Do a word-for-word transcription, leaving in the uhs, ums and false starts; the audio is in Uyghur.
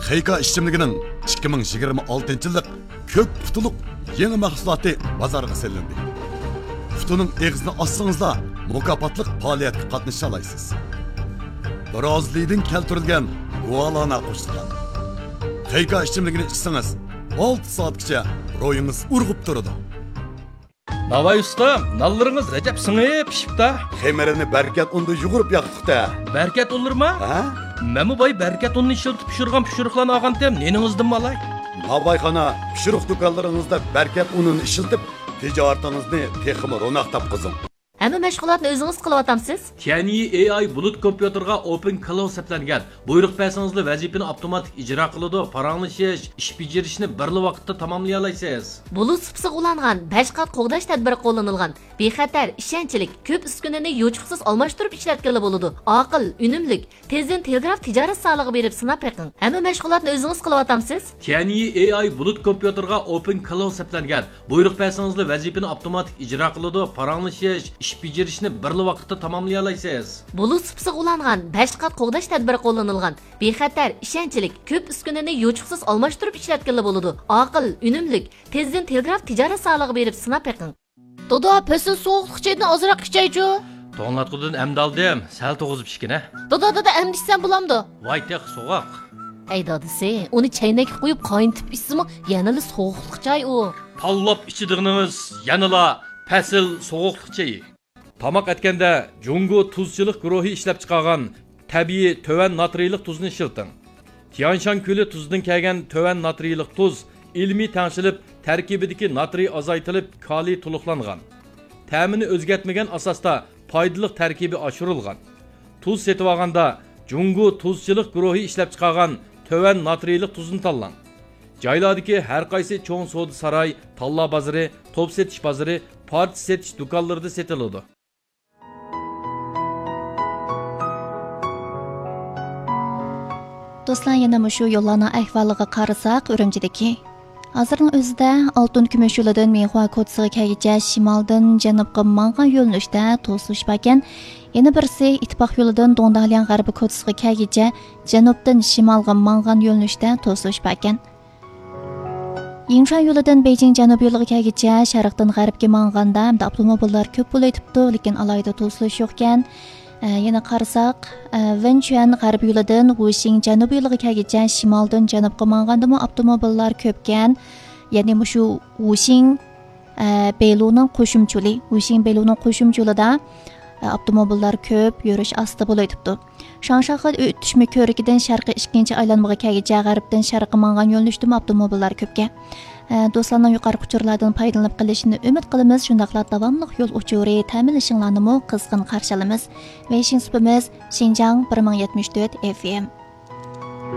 خېيكا ئىچىملىكىنىڭ ئىككى مىڭ يىگىرمە ئالتىنچى يىللىق كۆك پۇتلۇق يېڭى مەھسۇلاتى بازارغا سېلىندى. پۇتىنىڭ ئېغىزىنى ئاچسىڭىزلا، مۇكاپاتلىق پائالىيەتكە قاتنىشالايسىز. برازىلىيىدىن كەلتۈرۈلگەن گۇالانا قوشۇلغان خېيكا ئىچىملىكىنى ئىچسىڭىز، ئالتە سائەتكىچە روھىڭىز ئۇرغۇپ تۇرىدۇ. ناۋاي ئۇستا، نانلىرىڭىز ئەجەب سىڭىپ پىشىپتا. خېمىرىنى بەرىكەت ئۇندا يۇغۇرۇپ ياقتۇق-تە. بەرىكەت ئۇنلىرىما؟ ھە؟ مەنمۇ باي بەرىكەت ئۇنىنى ئىشلىتىپ پىشۇرغان پىشۇرۇقلارنى ئالغانتىم، نېنىڭىزدىنمۇ ئالاي؟ ناۋايخانا، پىشۇرۇق دۇكانلىرىڭىزدا بەرىكەت ئۇنىنى ئىشلىتىپ، تىجارىتىڭىزنى تېخىمۇ روناق تاپقۇزۇڭ. ھەممە مەشغۇلاتنى ئۆزىڭىز قىلىۋاتامسىز؟ تيەنيى ئېي ئاي بۇلۇت كومپيۇتېرغا ئوپېن كلاود سەپلەنگەن. بۇيرۇق بەرسىڭىزلا ۋەزىپىنى ئاپتوماتىك ئىجرا قىلىدۇ، پاراڭلىشىش، ئىش بېجىرىشنى بىرلا ۋاقىتتا تاماملىيالايسىز. بۇلۇت سۇپىسىغا ئۇلانغان بەش قات قوغداش تەدبىرى قوللىنىلغان. بىخەتەر، ئىشەنچلىك، كۆپ ئۈسكۈنىنى يوچۇقسىز ئالماشتۇرۇپ ئىشلەتكىلى بولىدۇ. ئاقىل، ئۈنۈملۈك. تېزدىن تېلېگراف تىجارەت زالىغا بېرىپ سىناپ بېقىڭ. ھەممە مەشغۇلاتنى ئۆزىڭىز قىلىۋاتامسىز؟ تيەنيى ئېي ئاي بۇلۇت كومپيۇتېرغا ئوپېن كلاود سەپلەنگەن. بۇيرۇق بەرسىڭىزلا ۋەزىپىنى ئاپتوماتىك ئىجرا قىلىدۇ، پاراڭلىشىش، ئىش بېجىرىشنى بىرلا ۋاقىتتا تاماملىيالايسىز. بۇلۇت سۇپىسىغا ئۇلانغان بەش قات قوغداش تەدبىرى قوللىنىلغان. بىخەتەر، ئىشەنچلىك، كۆپ ئۈسكۈنىنى يوچۇقسىز ئالماشتۇرۇپ ئىشلەتكىلى بولىدۇ. ئاقىل، ئۈنۈملۈك. تېزدىن تېلېگراف تىجارەت زالىغا بېرىپ سىناپ بېقىڭ. دادا، پەسىل سوغۇقلۇق چايدىن ئازراق ئىچەيچۇ. توڭلاتقۇدىن ئەمدى ئالدىم، سەل توغۇزۇپ ئىچكىنە. دادا، دادا، ئەمدى ئىچسەم بولامدۇ؟ ۋاي، تېخى سوغۇق. ھەي دادىسى، ئۇنى چەينەككە قۇيۇپ قاينىتىپ ئىچسىمۇ يەنىلا سوغۇقلۇق چاي ئۇ. تاللاپ ئىچىدىغىنىڭىز يەنىلا پەسىل سوغۇقلۇق چېيى. تاماق ئەتكەندە جۇڭگو تۇزچىلىق گۇرۇھى ئىشلەپچىقارغان تەبىئىي تۆۋەن ناترىيلىق تۇزنى ئىشلىتىڭ. تيەنشان كۆلى تۇزىدىن كەلگەن تۆۋەن ناترىيلىق تۇز ئىلمىي تەڭشىلىپ، تەركىبىدىكى ناترىي ئازايتىلىپ، كالىي تولۇقلانغان. تەمىنى ئۆزگەرتمىگەن ئاساستا پايدىلىق تەركىبى ئاشۇرۇلغان. تۇز سېتىۋالغاندا جۇڭگو تۇزچىلىق گۇرۇھى ئىشلەپچىقارغان تۆۋەن ناترىيلىق تۇزنى تاللاڭ. جايلاردىكى ھەر قايسى چوڭ سودا ساراي، تاللا بازىرى، توپ سېتىش بازىرى، پارچە سېتىش دۇكانلىرىدا سېتىلىدۇ. دوستلار، يەنە مۇشۇ يوللارنىڭ ئەھۋالىغا قارىساق، ئۈرۈمچىدىكى ھازىرنىڭ ئۆزىدە ئالتۇن كۈمۈش يولىدىن مىنخۇا كوچىسىغا كەلگۈچە شىمالدىن جەنۇبقا ماڭغان يۆنىلىشتە توسۇلۇش باركەن. يەنە بىرسى ئىتتىپاق يولىدىن دۇڭدالياڭ غەربىي كوچىسىغا كەلگۈچە جەنۇبتىن شىمالغا ماڭغان يۆنىلىشتە توسۇلۇش باركەن. يىڭشۇا يولىدىن بېيجىڭ جەنۇب يولىغا كەلگۈچە شەرقتىن غەربكە ماڭغاندا ھەمدە ئاپتوموبىللار كۆپ بولۇۋېتىپتۇ، لېكىن ئالاھىدە توسۇلۇش يوقكەن. ئە، يەنە قارىساق، ئە، ۋېنچۈەن غەربىي يولىدىن ۋۇشىڭ جەنۇبىي يولىغا كەلگۈچە شىمالدىن جەنۇبقا ماڭغاندىمۇ ئاپتوموبىللار كۆپكەن. يەنى مۇشۇ ۋۇشىڭ، ئە، بېيلۇنىڭ قوشۇمچە يولى، ۋۇشىڭ بېيلۇنىڭ قوشۇمچە يولىدا، ئە، ئاپتوموبىللار كۆپ، يۈرۈش ئاستا بولۇۋېتىپتۇ. شاڭشاخې ئۆتۈشمە كۆۋرۈكىدىن شەرقىي ئىككىنچى ئايلانمىغا كەلگۈچە غەربتىن شەرققە ماڭغان يۆنىلىشتىمۇ ئاپتوموبىللار كۆپكەن. ئە، دوستلارنىڭ يۇقىرىقى ئۇچۇرلاردىن پايدىلىنىپ قېلىشىنى ئۈمىد قىلىمىز، شۇنداقلا داۋاملىق يول ئۇچۇرى تەمىنلىشىڭلارنىمۇ قىزغىن قارشى ئالىمىز. ۋېيشىڭ سۇپىمىز شىنجاڭ بىر مىڭ يەتمىش تۆت ئېف ئېم.